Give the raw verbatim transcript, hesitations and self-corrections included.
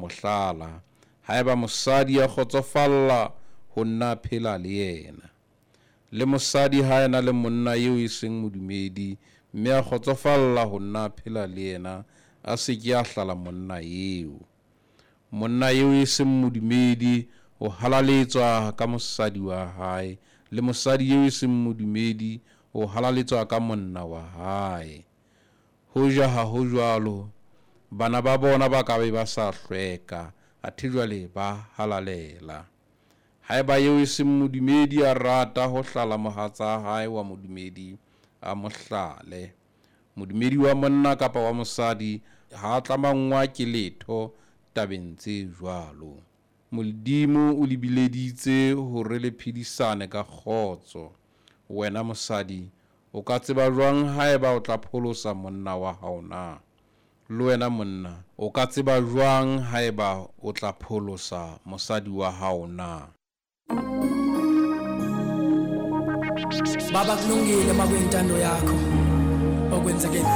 mo hlala, haeba mosadi a kgotsofalla ho nna a phela le yena. Le mosadi ha a ena le monna eo e seng modumedi, mme a kgotsofalla ho nna a phela le yena, a se ke a hlala monna eo. Monna eo e seng modumedi o halaletswa ka mosadi wa hae, le mosadi eo e seng modumedi o halaletswa ka monna wa hae. Hoja ha ho jwalo, bana ba bona ba ka be ba sa hlweka, athe jwale ba halalela. Haeba eo e seng modumedi a rata ho hlala mohatsa hae wa modumedi, a mo hlale. Modumedi wa monna kapa wa mosadi ha a tlamanngwa ke letho tabeng tse jwalo. Modimo o le bileditse hore le phedisane ka kgotso. Wena mosadi, o ka tseba jwang haeba o tla pholosa monna wa hao na? Le wena monna, o ka tseba jwang haeba o tla pholosa mosadi wa hao na? Baba, kulungile makuyintando yakho okwenzeke empilweni.